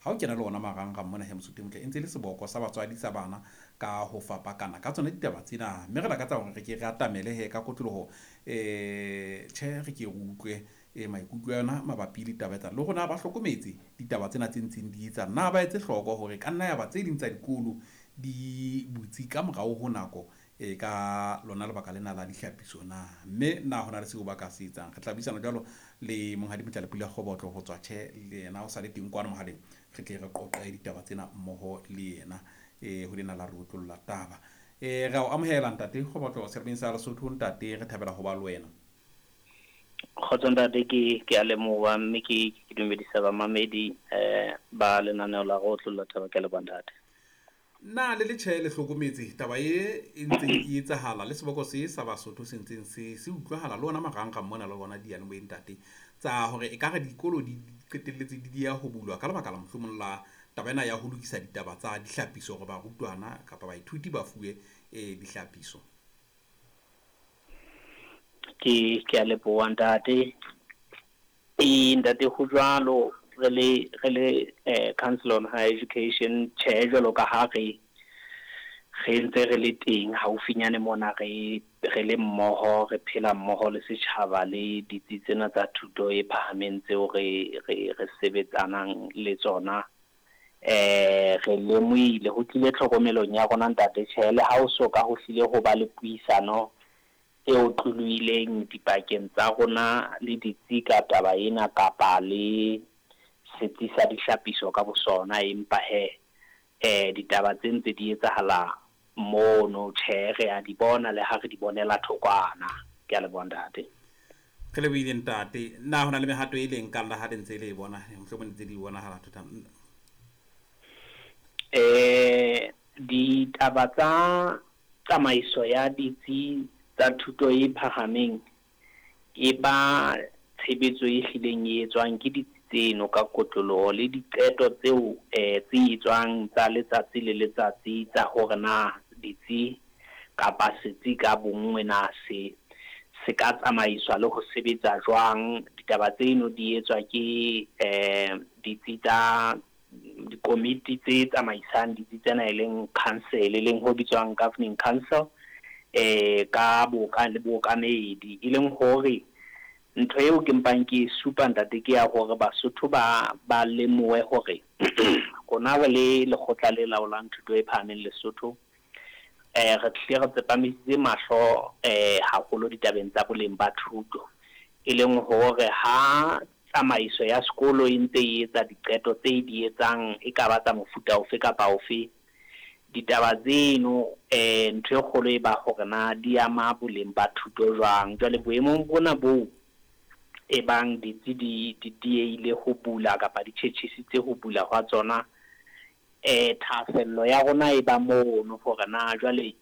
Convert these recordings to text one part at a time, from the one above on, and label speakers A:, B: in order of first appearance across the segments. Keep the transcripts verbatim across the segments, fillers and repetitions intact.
A: Ha o kena le ona marangrang mona he Mosotho e motle, e ntse e le seboko sa batswadi sa bana ka ho fapakana ka tsona ditaba tsena, mme re lakatsa hore re ke re atamele he ka kotloloho. um Tjhe, re ke re utlwe e maikutlo a yona mabapi le taba tsa le rona ba hlokometse ditaba tsena tse ntseng di etsa na ba etse hloko hore ka nna ya ba tse ding tsa dikolo di butse ka morao ho nako e ka lona lebaka lena la dihlapiso na, mme na hona le seo ba ka se etsang. Re tla buisana jwalo le Monghadi Motlalepule Kgobotlo ho tswa tjhe le yena o sa le teng kwano mohaleng, re tle re qoqe ditaba tsena mmoho le yena e ho lena la re otlolla taba. E re a o amohela ntate Kgobotlo seremeng sa Lesotho. Ntate, re thabela ho ba le wena.
B: Kgotso ntate, ke ke a leboha mme ke ke dumedisa bamamedi eh ba lenaneo la go otlolla taba. Ke leboha ntate.
A: Na le le tjhe le hlokometse taba e e ntseng e etsahala le seboko se sa Basotho se ntseng se se utlwahala le ona marangrang mona le ona diyalemoyeng ntate, tsa hore ekare dikolo di qetelletse di dieha ho bulwa ka lebaka la mohlomong la taba ena ya ho lokisa ditaba tsa dihlapiso hore barutwana kapa baithuti ba fuwe e dihlapiso?
B: Ke ke a leboha ntate. E ntate, ho jwalo, re le re le eh Council on Higher Education, tjhe, jwalo ka ha re re ntse re le teng haufinyane mona, re re le mmoho, re phela mmoho le setjhaba le ditsi tsena tsa thuto e phahameng tseo re re re sebetsanang le tsona. eh re lemohile, ho tlile tlhokomelong ya rona ntate. Tjhe, le ha o so ka ho hlile ho ba le puisano e otlolohileng dipakeng tsa rona le ditsi ka taba ena kapa le setsi sa dihlapiso ka bosona, empa he eh ditaba tse ntse di etsahala mono, tjhe, re a di bona le ha re di bonela thokwana. Ke a leboha ntate.
A: Re lebohile ntate. Na hona le mehato e leng kang la ha le ntse le e bona, mohlomong ntse di bonahala thota?
B: Eh ditaba tsa tsamaiso ya ditsi tsa thuto e phahameng e ba tshebetso e hlileng e etswang ke ditsi tseno ka kotloloho le diqeto tseo eh tse etswang tsa letsatsi le letsatsi tsa hore na ditsi kapa setsi ka bonngwe na se se ka tsamaiswa le ho sebetsa jwang. Ditaba tseno di etswa ke eh ditsi tsa dikomiti tse tsamaisang ditsi tsena, e leng council, e leng ho bitswang governing council, eh ka boka le bookamedi. E leng hore ntho eo ke mpang ke supa ntate ke ya hore Basotho ba ba lemohe hore rona re le lekgotla le laolang thuto e phahameng Lesotho, eh re tlile re tsepamisitse mahlo eh haholo ditabeng tsa boleng ba thuto, e leng hore ha tsamaiso ya sekolo e ntse e etsa diqeto tse di etsang, e ka ba tsa mofuta ofe kapa ofe, ditaba tseno eh ntho e kgolo e ba hore na di ama boleng ba thuto jwang. Jwale boemong bona boo e bang ditsi di di diehile ho bula kapa di tjhetjhisitse ho bula hwa tsona, eh thahasello ya rona e ba mono hore na jwale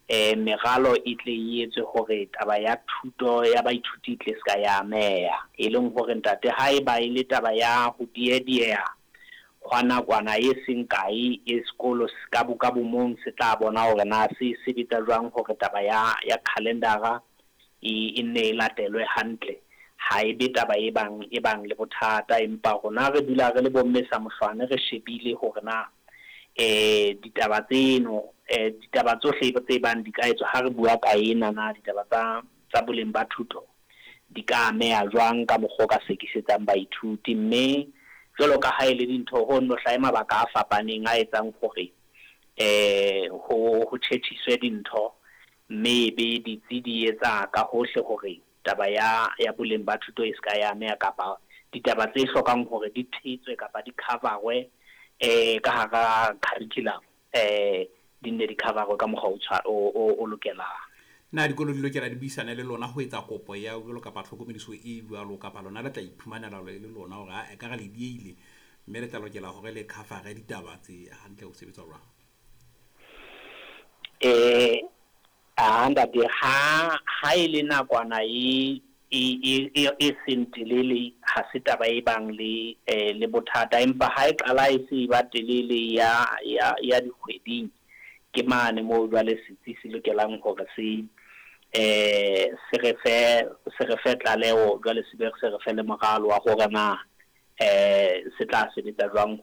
B: eh meralo e tle e etswe hore taba ya thuto ya baithuti e tle se ka ya ameha. E leng hore ntate, ha e ba e le taba ya ho diedieha hwa nakwana e seng kae, e sekolo ka bo ka bomong se tla bona hore na se sebetsa jwang hore taba ya ya calendara e e nne e latelwe hantle, ha e be taba e bang e bang le bothata. Empa rona re dula re le bomme sa mohlwane, re shebile hore na eh ditaba tseno eh ditaba tsohle tse bang di ka etswa ha re bua ka ena na ditaba tsa tsa boleng ba thuto di ka ameha jwang ka mokgwa o ka sekisetsang baithuti. Mme jwalo ka ha e le dintho ho no hlahe mabaka a fapaneng a etsang hore eh ho ho tjhetjhiswe dintho, mme ebe ditsi di etsa ka hohle hore taba ya ya boleng ba thuto e se ka ya ameha, kapa ditaba tse hlokang hore di thetswe kapa di coverwe eh ka hara curriculum eh di nne di coverwe ka mokgwa o tshwa o o lokelang.
A: Na dikolo di lokela di buisane le lona ho etsa kopo ya jwalo kapa tlhokomediso e jwalo, kapa lona le tla iphumanela le lona hore a ekare le diehile mme le tla lokela hore le cover ditaba tse hantle ho sebetsa jwang?
B: Eh a ntate, ha ha e le nakwana e e e e seng telele, ha se taba e bang le eh le bothata, empa ha e qala e se ba telele ya ya ya dikgweding, ke mane moo jwale setsi se lokelang hore se eh se re fe se re fe tlaleho, jwale se be se re fe le moralo wa hore na eh se tla sebetsa jwang.